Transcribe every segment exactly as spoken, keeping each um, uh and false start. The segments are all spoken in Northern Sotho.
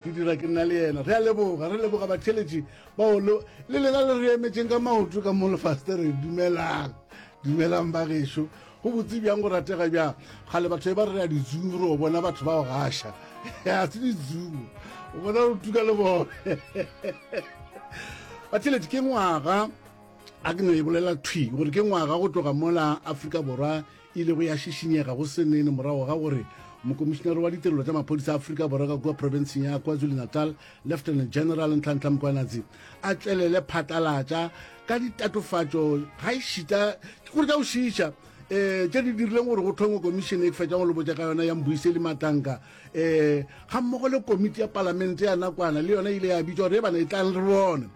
Ke dira ke nna le yena. Re a leboga, re leboga batheeletši bao le, le lena le re emetšeng ka maoto ka mo lefastereng. Dumelang, dumelang ba gešo. Go botse bjang, go ratega bjang. Kgale batho e ba re re a di-Zoom re o bona batho ba go gaša. Ga se di-Zoom, o bona re tuka le bone. Batheeletši, ke ngwaga, a ke no e bolela thwi gore ke ngwaga go tloga mola Afrika Borwa e ilego ya šišinyega go se nene morago ga gore Mokomišinare wa Ditirelo tša Maphodisa a Afrika Borwa ka kua profenseng ya KwaZulu-Natal, Lieutenant General Nhlanhla Mkhwanazi, a tšwelele phatlalatša ka ditatofatšo gaešita ke gore tša go šiiša um tše di dirileng gore go thongwe komišene e ke fetšang go le botša ka yona ya Mbuyiseli Matanka um gammogo le komiti ya palamente ya nakwana le yona e ile ya bitšwa gore e bana e tlang re bone.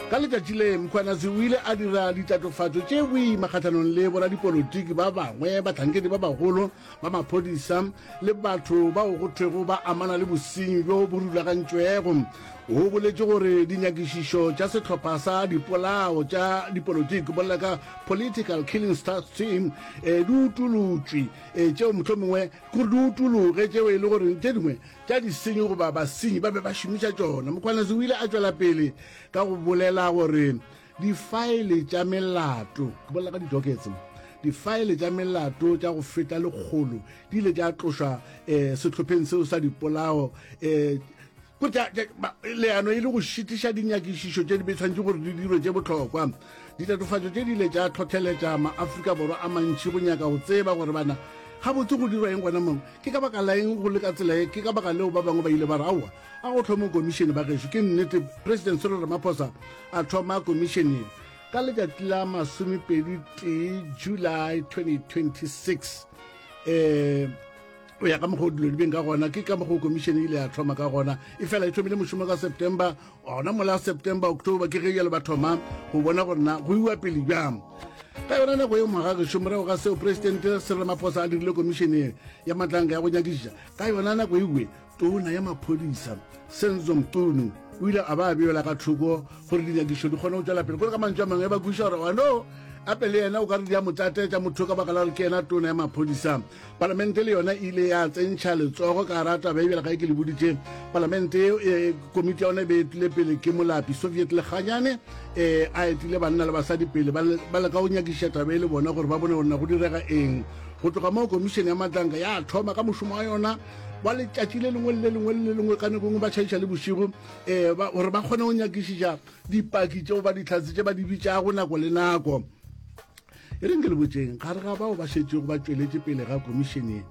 Ka letšatši le, Mkhwanazi o ile a dira ditatofatšo tše boima kgahlanong le boradipolotiki ba bangwe, bahlankedi ba bagolo ba maphodisa le batho bao go thwego ba amana le bosenyi bjo bo rulagantšwego. O boletše gore dinyakišišo tša sehlopha sa dipolao tša dipolotiki, bolela ka Political Killings Task Team, di utolotšwe, tšeo mohlomongwe ke gore di utologe, tšeo e le gore tše dingwe tša disenyi goba basenyi ba be ba šomiša tšona. Mkhwanazi o ile a tšwela pele ka go bolela gore difaele tša melato, ke bolela ka di-dockets, difaele tša melato tša go feta lekgolo di ile tša tlošwa um sehlopheng seo sa dipolao um leano e le go šitiša dinyakišišo tše di be tshwanetše gore di dirwe tše bohlokwa. Ditatofatšo tše di ile tša hlohleletša ma-Afrika Borwa a mantši go nyaka go tseba gore bana gabotse go dirwa eng gona mo, ke ka baka la eng go le ka tsela ye. Ke ka baka leo ba bangwe ba ile ba re, Aowa, a go hlongwe komišene ba gešo. Ke nnete, President Cyril Ramaphosa a thoma komišene ye ka letšatši la masomepedi tee July twenty twenty-six. Um go ya ka mokgwa o dilo di beng ka gona, ke ka mokgwa o komišene e ile ya thoma ka gona. Efela e thomile mošomo ka September, gona mola September, October ke ge jalo ba thoma go bona gore na go iwa pele bjang. Ka yona nako yeo mogagešo, morago ga seo Presidente Cyril Ramaphosa a dirile komišene ya matlanka ya go nyakišiša, ka yona nako ewe tona ya maphodisa Senzo Mchunu o ile a ba a beela ka thoko gore dinyakišišo di kgone go tšwela pele. Kore ka mantšu a mangwe ba kwešiša gore wano ape le yena o ka re di a mo tlatetša motho ka baka la gore ke yena tona ya maphodisa. Palamente le yona e ile ya tsentšha letsogo ka gara taba e bjale ga e ke le boditše. Palamente e, komiti ya yona e be etile pele ke Molapi Soviet Lekganyane, e, a etile banna le basadi pele ba leka go nyakišiša taba e le bona gore ba bone gore na go direga eng. Go tloga moo komišene ya Matlanka ya thoma ka mošomo wa yona wa letšatši le lengwe le le lengwe le le lengwe, ka nako e nngwe ba tšhaiša le bošego, um gore ba kgone go nyakišiša dipaki tšeo ba dihlatse tše ba di bitšago nako le nako. E reng ke le botšeng, gare ga bao ba šetšego ba tšweletše pele ga komišene ye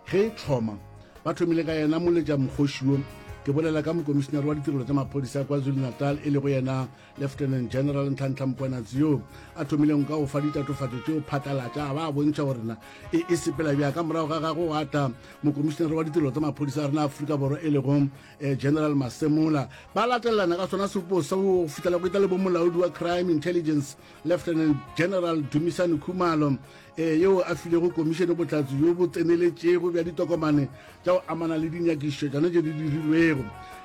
ge e thoma, ba thomile ka yena moletša mokgoši wo, ke bolela ka mokomišenare wa ditirelo tša maphodisa KwaZulu-Natal e lego yena Lieutenant General Nhlanhla Mkhwanazi, yo a thomilego ka go fa ditatofatšo tšeo phatlalatša a ba a bontšha gore na e e sepela bjang. Ka morago ga gagwe gwa tla mokomišenare wa ditirelo tša maphodisa a rena Afrika Borwa e lego General Masemola. Ba latelelana ka sona sepo seo go fihlela go etla le bomolaodi wa Crime Intelligence Lieutenant General Dumisani Khumalo, yeo a filego komišene bohlatse bjo bo tseneletšego bja ditokomane tša go amana le dinyakišišo tšona tše di dirilwego.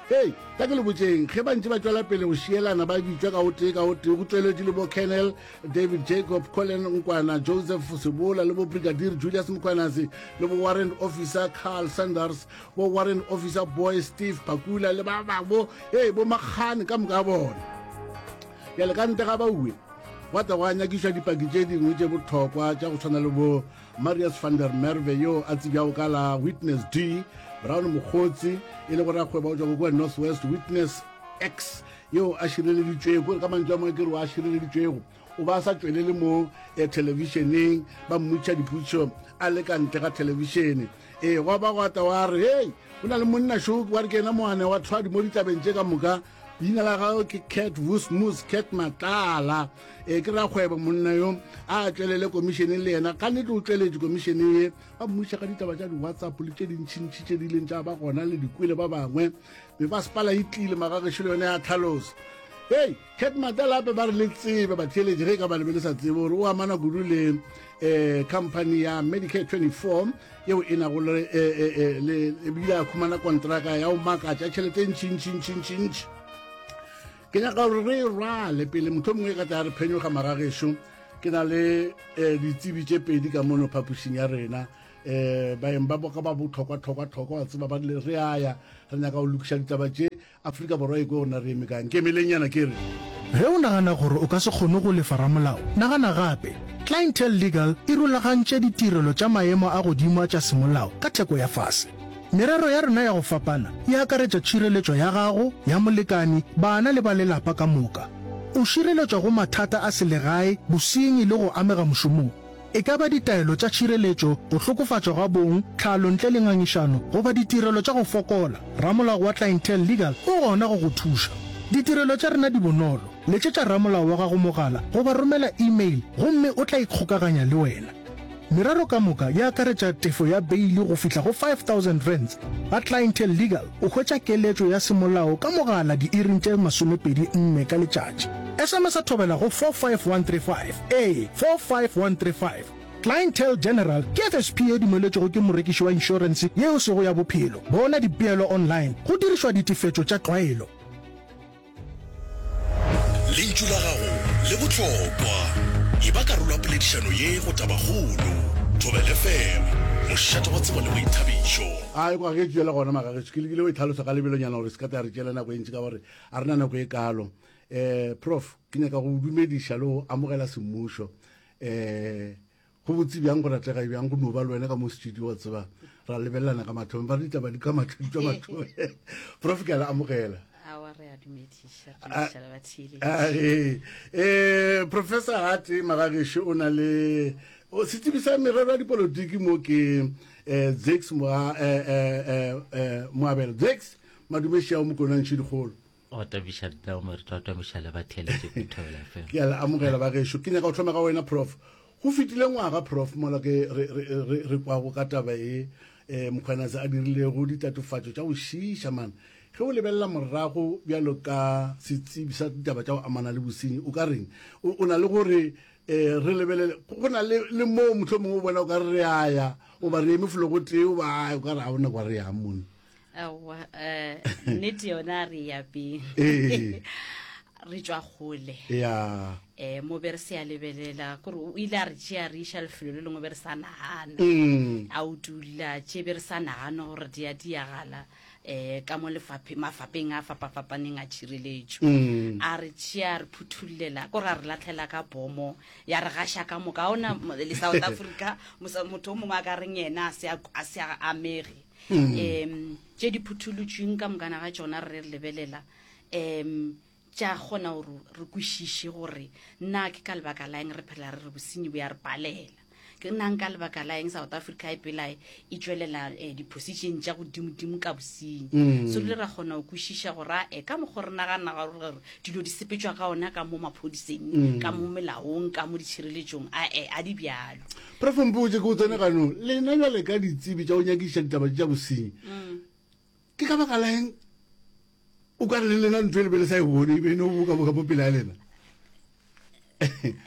Hei, tla ke le botšeng, ge ba ntše ba tšwela pele go šielana ba bitšwa ka o tee ka o tee, go tšweletše le bo Colonel David Jacob, Colin Nkwana, Joseph Sebola le bo Brigadier Julius Mkhwanazi le bo Warrant Officer Carl Sanders, bo Warrant Officer Boy Steve Phakula le ba bangwe, hei, bo Makgane ka moka ga bona. Bjale ka ntle ga bauwe, gwa tla gwa nyakišwa dipaki tše dingwe tše bohlokwa tša go swana le bo Marius van der Merwe yo a tsebjago ka la Witness D, Brown Mokgotsi e lego rakgwebo o tšwago kua North West, Witness X yo a šireleditšwego, ka mantšu a mangwe ke re a šireleditšwego, o ba a sa tšwelele mo thelebišeneng, ba mmotšiša dipotšišo a le ka ntle ga thelebišene. Ee, gwa ba gwa tla wa re, Hei, go na le monna šo wa re ke yena moane wa thwadi mo ditabeng tše ka moka. Leina la gagwe ke Cat Vusmus, Cat Matlala. Ee, ke rakgwebo monna yo. A tšwelele komišeneng le yena. Ka nnete o tšweletše komišeneng ye. Ba mmuša ka ditaba tša di-WhatsApp le tše dintšintši tše di ileng tša ba gona le dikwele ba bangwe. Mebasepala e tlile magagešo le yona ya tlhalosa. Hei, Cat Matlala gape ba re le tsebe batheeletši ge e ka ba le be le sa tsebe gore o amana kudu le um company ya Medicare twenty-four yeo e nago le le ebile a khumana kontraka ya go makatša tšhelete e ntšintšintšintšintši. Ke nyaka gore re e rwale pele motho mongwe e ka tla re phenyoga magagešo. Ke na le um ditsebi tše pedi ka mono phapošing ya rena. um baeng ba boka ba botlhokwa-tlhokwa-tlhokwa wa tseba ba rile re aya re nyaka go lokiša ditaba tše Afrika Borwa e kwe gona re eme kang ke emeleng ke re Ge o nagana gore o ka se kgone go lefa ramolao, nagana gape. Clientele Legal e rulagantše ditirelo tša maemo a godimo tša semolao ka theko ya fase. Merero ya rena ya go fapana e akaretša tšhireletšo ya gago, ya molekani, bana le ba lelapa ka moka. O šireletšwa go mathata a selegae, bosenyi le go amega mošomong. E ka ba ditaelo tša tšhireletšo, go hlokofatšwa ga bong, tlhalo ntle le ngangišano goba ditirelo tša go fokola, ramolao wa Clientele Legal o gona go go thuša. Ditirelo tša rena di bonolo. Letšetša ramolao wa gago mogala goba romela email gomme o tla ikgokaganya le wena. Merero ka moka e akaretša tefo ya beili go fihla go five thousand rands. Ga Clientele Legal o hwetša keletšo ya semolao ka mogala diiring tše masomepedi nne ka letšatši. S M S a thobela go four five one three five, ee, four five one three five. Clientele General ke F S P e dumeletšwego ke morekiši wa inšorense ye e sego ya bophelo. Bona dipeelo online go dirišwa ditefetšo tša tlwaelo. Lentšu la gago le bohlokwa. E ba karolo ya poledišano ye go Tabakgolo. Thobela F M, mošate wa tsebo le boithabišo. A kwa ge tšwela gona magagetšo, ke lekile go itlhalosa ka lebelonyana gore se ka tla re tšeela nako e ntši ka gore a rena nako e kalo. Eh, prof, ke nyaka go dumediša le go amogela semmušo. Eh, go botse bjang go ratlega bjang go no ba le wena ka mo studio wa tseba ra lebelelana ka mathong ba re ditaba di ka mathong di tšwa mathong. Prof, ke a le amogela. Awa, re a dumediša, re dumediša le batheeletši. Eh, eh, Professor Hate Magagesho o na le o setsebi sa merero ya dipolotiki mo ke eh Zex Moa eh eh eh Moabelo. Zex madumeši ao mokonantši dikgolo. O tabiša nna o merito wa tabiša le batheeletši go Thobela F M. Ke a le amogela bagešo. Ke nyaka go thoma ka wena Prof. Go fetile ngwaga Prof mola ke re re re re kwago ka taba e eh Mkhwanazi a dirilego ditatofatšo tša go šiiša man. Ge o lebelela morago bjalo ka setsebi sa ditaba tša go amana le bosenyi, o ka reng? O, o na le gore eh re lebelele go na le le moo mohlomongwe o bona o ka re re a ya goba re eme felo go tee goba ai, o ka re ga ona kwa re yang mone. Aowa, eh, nnete yona re ya pele. Ee. Re tšwa kgole. Ya. Eh, mo be re se a lebelela kore o ile a re tšea re iša lefelo le lengwe be re sa nagana. Mm. A utulla tše be re sa nagana gore di a diagala eh ka mo lefaphe mafapeng a fapafapaneng a tšhireletšo. Mm. A re tšea re phuthulela kore a re latlhela ka bomo ya re gaša ka moka. Ha ona mo-, le South Africa, mosa-, motho o mongwe a ka reng yena a se a, a se a amege. Mm. Em, tše di phutholotšweng ka mokana ga tšona re re lebelela, em, tša kgona gore re kwešiše gore nna ke ka lebaka la eng re phela re re bosenyi bo ya re palela. Ke nna nka lebaka la eng South Africa e pela e tšwelela, eh, di-position tša godimodimo ka bosenyi. Mm. So rile ra kgona go kwešiša gore, a, eh, ka mokgwa re nagana gore dilo di sepetšwa ka ona ka mo maphodiseng, Mm. ka mo melaong, ka mo ditšhireletšong, a, eh, a di bjalo. Prof Mpotše, ke o tsene ganong. Lena bjale ka ditsebi tša go nyakišiša ditaba tša bosenyi, Mm. ke ka baka la eng o ka re le lena ntho e le be le sa e bone, e be e no boka-boka mo pele ya lena?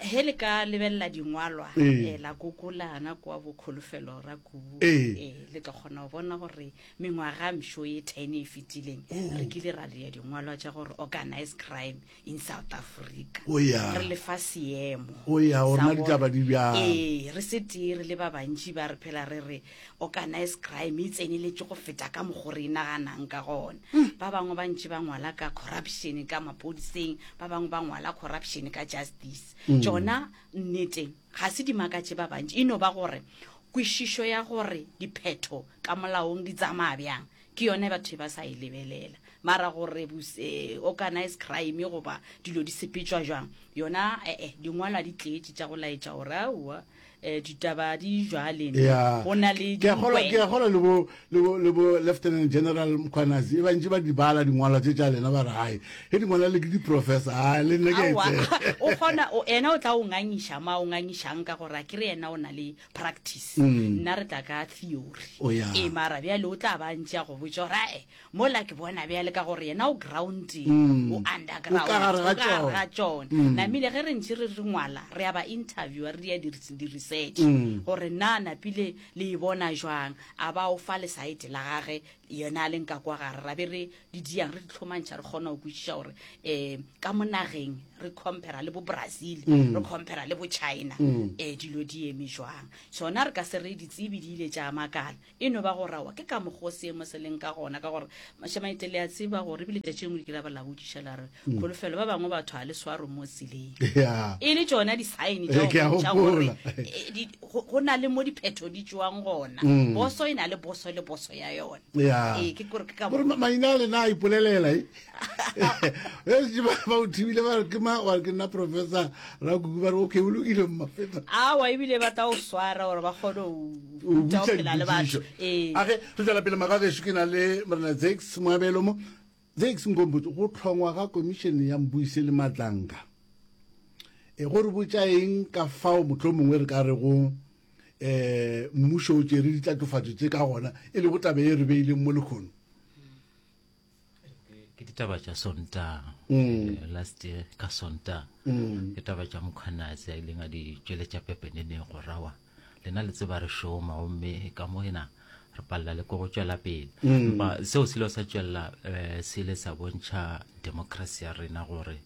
He le ka lebelela dingwalwa, Ee. eh, la kokolana kwa bo Kholofelo Rakubu, Ee. eh, le tla kgona go bona gore mengwaga mšo ye ten e fetileng, Oh. re kile ra dira dingwalwa tša gore organized crime in South Africa. Oh, ya. Re le fa seemo Oh, ya, gore sa na ditaba gore di bjang. Ee, re se tee re le ba bantši ba re phela re re organized crime e tseneletše go feta ka mokgo re e naganang ka gona. Hmm. Ba bangwe ba ntši ba ngwala ka corruption ka maphodiseng, ba bangwe ba ngwala corruption ka justice. Mm. Tšona nnete ga se di makatše ba bantši, e no ba gore kwešišo ya gore diphetho ka molaong di tsamaya bjang ke yone batho ba sa e lebelela. Mara gore bos-, eh, organized crime goba dilo di sepetšwa jwang, yona, eh, eh, dingwalwa di tletše tša go laetša gore aowa, eh, ditaba di jwale, Ya. go na le Ke a kgolwa, dingwe. ke a kgolwa le bo, le bo, le bo Lieutenant General Mkhwanazi, e bantši ba di bala dingwalwa tše tša lena, ba re, hai, he dingwalwa le ke di-professor, hai, le nna ke a e Aowa, tseba. o kgona, o, yena o tla o ngangiša ma o ngangišang ka gore a ke re yena o na le practice. Mm. Nna re tla ka theory. O ya. Ee, mara bjale o tla ba ntše a go botša gore, ae, mola ke bona bjale ka gore yena o grounding, Mm. o underground, O ka gare ga o ka gare tšona. ga tšona. Mm. Namile ge re ntše re re ngwala, re a ba interviewer, re dia di-research Mm. gore na napile le e bona jwang, a ba o fa lesaete la gage yena a leng ka kwa gare ra be re di diang re di tlhomantšha re kgona go kwešiša gore um ka mo nageng re compara le bo Brazil Mm. re compara le bo China um dilo di eme jwang sona re ka se re ditsebi di ile tša makala e no ba go rawa ke ka mokgwa o seemo se leng ka gona ka gore mašamaite le a tseba gore ebile tšatši lengwe le kile ba la botšiša la re Mm. kholofelo ba bangwe batho ga le swaro mo tseleng ya e le tšona di-sign Eh, ke a tša gore gopola. eh, di- go go na le mo diphetho di tšwang gona Mm. boso e na le boso le boso ya yona ya ee ke kore ke ka gore ma- maina a lena a ipolelela e e ba ba o thibile ba re ke ma wa re ke nna professor Rakuku ba re okay o lokile mmafeta awa ebile ba tla o swara gore ba kgone o go ruta go botša phela le batho dipotšišo ee age re tswela pele magagešo ke na le morena Zakes Moabelo mo Zakes Nkompotse go tlhongwa ga komišene ya Mbuise le Matlanka e go re botša eng ka fao motlho mongwe re ka re go um mmušo o tšere ditlatofatšo tše ka gona e le go tabe e re beileng mo lekgono ke ditaba tša Sontaga Mm. Eh, last year ka Sontaga Mm. ke taba tša Mkhwanazi a ileng a di tšweletša pepeneneng go rawa lena le tseba re šoma gomme ka mo ena re palela le ko go tšwela pele Mm. empa seo se ile sa tšwelela um se ile sa bontšha democracy ya rena gore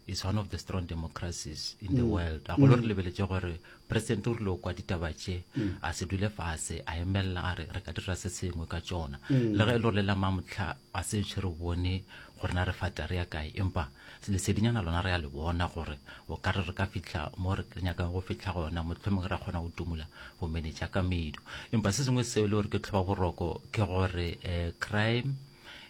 is one of the strong democracies in the Mm. world a golo Mm. re lebeletše gore president o rile o kwa ditaba tše Mm. a se dule fase a emelela a re re ka dira se sengwe ka tšona Mm. le ge e le gore le la mamotlha a se ntšhe re bone gore na re fata re ya kae empa lesedinyana lona re ya le bona gore o ka re re ka fitlha mo re nyakang go fitlha gona mohlomongwe ra kgona go tumula bomenetša ka medu empa se sengwe seo e le gore ke tlhoba boroko ke gore um crime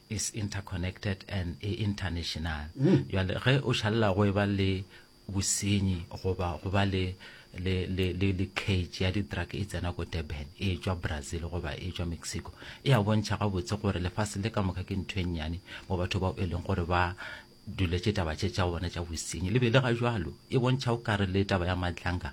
is interconnected and e international Mm. jale ge o šalela go e ba le bosenyi goba go ba le le le le le cage ya di-drug e tsena ko Durban e tšwa Brazil goba e tšwa Mexico e a bontšha gabotse gore lefase le ka moka ke ntho e nnyane mo batho bao e leng gore ba duletše taba tše tša bona tša bosenyi le be le ga jwalo e bontšha o kare le taba ya Madlanga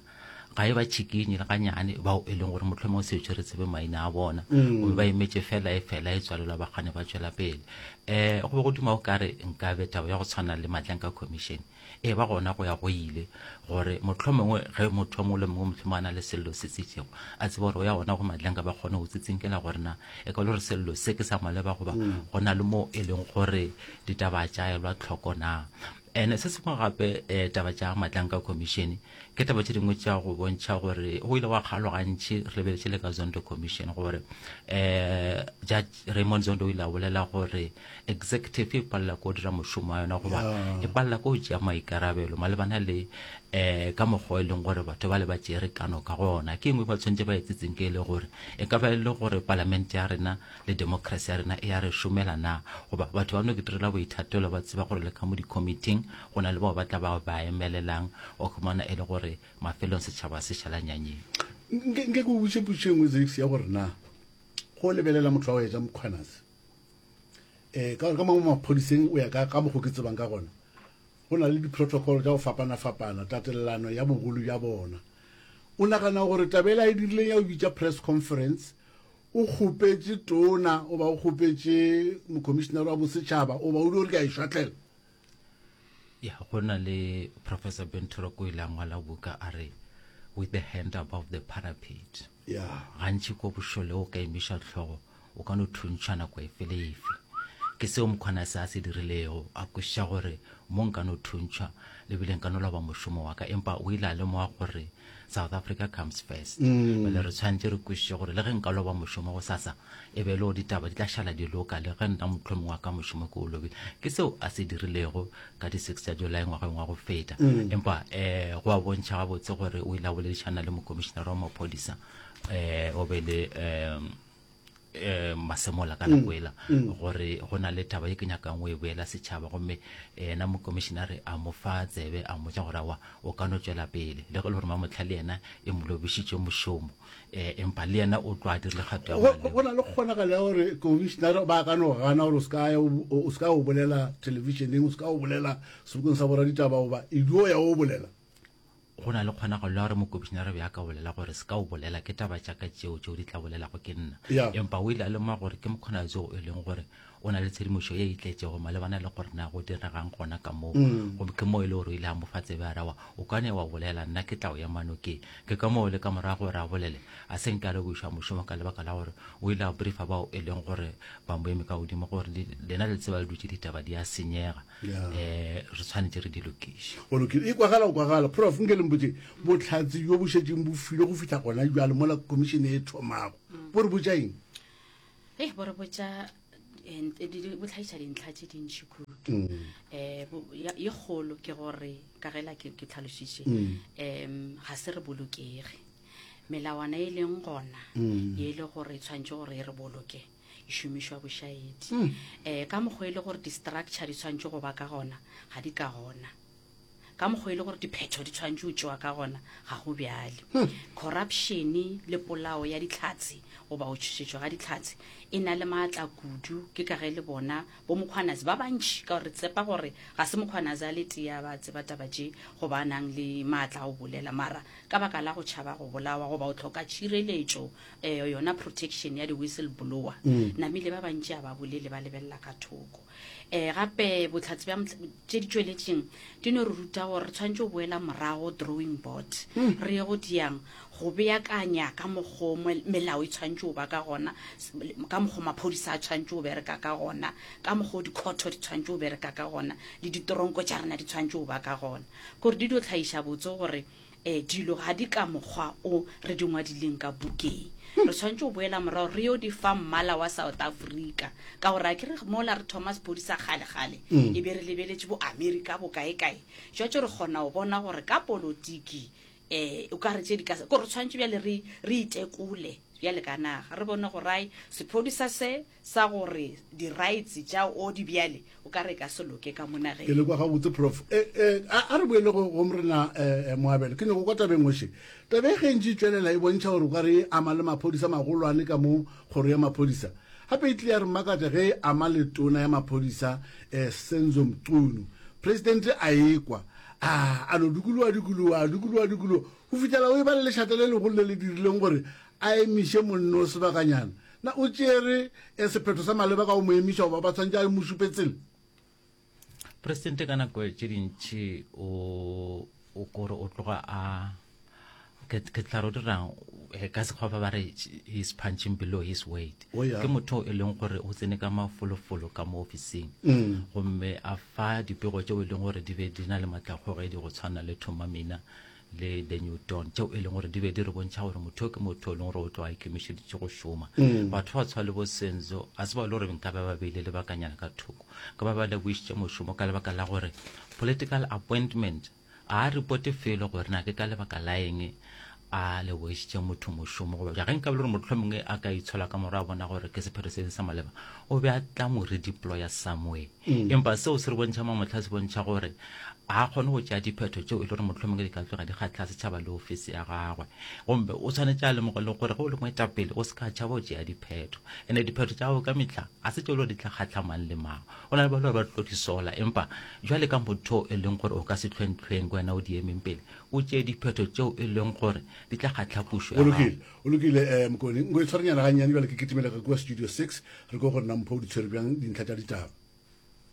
ga e ba tšhikinye le ganyane bao e leng gore mohlomongwe se re tsebe maina a bona Mm. gomme ba emetše fela e fela e tswalelwa ba kgane ba tšwela pele um go be go duma o kare nkabe taba ya go tshwana le Madlanga Commission e ba gona go ya go ile gore mohlomongwe ge motho o mongwe le mongwe mohlomongwe a na le sello se se itšego a tsebe gore o ya gona go Madlanga ba kgone go tsitsinkela gore na e ka le gore sello se ke sa maleba goba Mm. go na le mo e leng gore ditaba tša elwa tlhoko na and se sengwe gape um taba tša Madlanga Commission ke taba tše dingwe tša go bontšha gore go ile wa kgalwa gantši re lebeletše le ka Zondo Commission gore um Judge Raymond Zondo o ile a bolela gore executive e palela ko dira mošomo wa yona goba Yeah. e palela ko tšea maikarabelo malebana le um ka mokgwa e leng gore batho ba le ba tšere kano ka gona ke engwe ba tshwanetse ba etsetseng ke e le gore e ka ba e le gore palamente ya rena le democracy ya rena e ya re šomela na goba batho ba no ke direla boithatelo ba tseba gore le ka mo di-committing go na le bao ba tla ba ba emelelang o khumana e le gore mafelong setšhaba se šala nyanyeng nke nke ke o botše potšo e nngwe Zakes ya gore na go lebelela motho wa go etša Mkhwanazi um ka gore ka mangwe maphodiseng o ya ka ka mokgo ke tsebang ka gona go na le di-protocol tša go fapana-fapana tatelelano ya bogolo bja bona o nagana gore tabela e dirileng ya go bitša press conference o kgopetše tona o ba o kgopetše mokomišenare wa bosetšhaba o ba o di gore ke a e šwatlela ya go na le Professor Benturo o ile a ngwala buka a re with the hand above the parapet ya gantši ko bošole o ka emiša tlhogo o ka no thuntšha nako efe le efe ke seo Mkhwanazi a se dirilego a kwešiša gore mo nka no thuntšhwa lebile nka no loba mošomo wa ka empa o ile a lemoga gore South Africa comes first Mm. bjale re tshwanetse re kwešiše gore le ge nka loba mošomo go sasa e be e le gore ditaba di tla šala di loka le ge nna mohlomongwe wa ka mošomo ke o lobile ke seo a se dirilego ka di-six tša July ngwageng wa go feta Mm. empa um go a bontšha gabotse gore o ile a boledišana le mokomišenare wa maphodisa um o be le um um Masemola ka nako Mm, ela mm. gore go na le taba ye ke nyakang o e boela setšhaba gomme yena mokomišenare a mo fa tsebe a mmotša gore aowa o ka no tšwela pele le ge e le gore mamotlha le yena e mo lobišitše mošomo um empa le yena o tlo a dirile kgato ya go maleba. go na le kgonagalo ya gore commissionare ba ka no gana gore o se ka ya o o se ka o bolela televisioneng o se ka o bolela sebokeng sa boraditaba goba e dio ya o bolela go na le kgonagalo ya gore mokomišenare be a ka bolela gore se ka o bolela ke taba tša ka tšeo tšeo di tla bolelago ke nna Ya. empa o ile a lemoga gore ke Mkhwanazi o e leng gore o na le tshedimošo ye e tletšego malebana le gore na go diregang gona ka moo. Gomme ke moo e le gore o ile a mo fa tsebe a re, Aowa, o ka ne wa bolela, nna ke tla o ema nokeng. Ke ka moo le ka morago gore a bolele, a se nke a lebogišwa mošomo ka lebaka la gore o ile a briefa bao e leng gore ba mo eme ka godimo gore lena le tseba le dutše ditaba di a senyega, um re tshwanetše re di lokiše. Go lokile. E kwagala go kwagala. Prof, nke le mpotše, bohlatse bjo bo šetšeng bo filwe go fihla gona bjale mola khomišene e thomago, bo re botša eng? Hei, bo re botša eh, bo tlhagiša dintlha tše dintši kudu. Um ye kgolo ke gore, ka ge la ke ke tlhalošitše, um ga se re bolokege. Melawana e leng gona, ye e le gore e tshwanetše gore e re boloke, e šomišwa bošaedi. Um ka mokgwa e le gore di-structure di tshwanetše go ba ka gona, ga di ka gona. Ka mokgwa e le gore diphetho di tshwanetše go tšewa ka gona, ga go bjale. Corruption le polao ya dihlatse goba go tšhošetšwa ga dihlatse e na le maatla kudu. Ke ka ge le bona bo Mkhwanazi ba bantši, ka gore re tshepa gore ga se Mkhwanazi a le tee a ba tseba taba tše goba a nang le maatla a go bolela, mara ka baka la go tšhaba go bolawa goba go hloka tšhireletšo, um yona protection ya di-whistle blower, namile ba bantši a ba bolele, ba lebelela ka thoko. Um gape bohlatse bja tše di tšweletšeng di no re ruta gore re tshwanetše go boela morago drawing board, re ye go diang go beakanya ka mokgo melao e tshwanetše go ba ka gona, ka mokgo maphodisa a tshwanetše go bereka ka gona, ka mokgo dikhotho di tshwanetše go bereka ka gona, le ditoronko tša rena di tshwanetše go ba ka gona. Kore di dio tlhagiša botse gore um dilo ga di ka mokgwa o re di ngwadileng ka bukeng. Re tshwanetše go boela morago re yo di fa mmala wa South Africa, ka gore a ke re mola re thoma sephodisa kgale-kgale e be re lebeletše bo Amerika bo kae-kae, jwatše re kgona go bona gore ka polotiki um o ka re tše di ka kore re tshwanetše bjale re re itekole bjale ka naga, re bone gore ai sephodisa se sa gore di-rights tša o di bjale o ka re ka se loke ka mo nageng. Ke le kwa gabotse, Prof. E, e, a, a re boele go, go Morena e, e, Moabelo. Ke nyako kwa tabeng ngoše. Taba e ge e ntše e tšwelela e bontšha gore o ka re e ama le maphodisa magolwane ka mo kgoro ya maphodisa. Gape e tlile ya re makatša ge e ama le tona ya maphodisa e, Senzo Mchunu. Presidente a ekwa, a, a no dikologa dikologa, a dikologa dikologa, go fihlela o e ba le lešata le legolo le le dirileng gore a emiše monno o sebakanyana. Na o tšere e, sephetho sa maleba ka go mo emiša goba ba tshwanetše a mo šupe tsela? Presidente ka nako tše dintši o o kore o tloga a ke ke tla re o dirang eh, ka sekgwa ba ba re he's punching below his weight. Oh, yeah. Ke motho e leng gore o tsene ka mafolofolo ka mo ofising, gomme a fa dipego tšeo e leng gore di be di na le maatlakgogedi go tshwana le Thoma Mina le The New Dawn, tšeo e leng gore di be di re bontšha gore motho ke motho e leng gore o tloga a ikemišeditše go šoma. Batho ba tshwana le bo Senzo a se ba e le gore nka ba ba beile lebakanyana ka thoko, ka ba ba lebogišitše mošomo ka lebaka la gore political appointment a reporte felo gore na ke ka lebaka la eng a lebogišitše motho mošomo, goba ge nka be le gore mohlomongwe a ka itshola ka morago a bona gore ke sephetho se sa maleba, o be a tla mo redeploya somewhere. Empa seo se re bontšha mamohla, se bontšha gore a kgone go tšea diphetho tšeo e le gore mohlomongwe di ka tloga di kgahla setšhaba le ofisi ya gagwe. Gomme o tshwanetše a lemoge le gore ge o le moetapele o se ka tšhaba go tšea diphetho, ene diphetho tša gago ka mehla a se tšeo le gore di tla kgahla mang le mang. Go na le ba le gore ba tlo di sola, empa jwale ka motho e leng gore o ka se hlwenhlweng ke wena o di emeng pele, o tšee diphetho tšeo e leng gore di tla kgahla pušo ya O lokile, gago. o lokile, um Mokone. Nko e tshwarenyana gannyane bjale ke kitimela ka kua studio six, re kwe gore na Mpho o di tshwere bjang dintlha tša ditaba.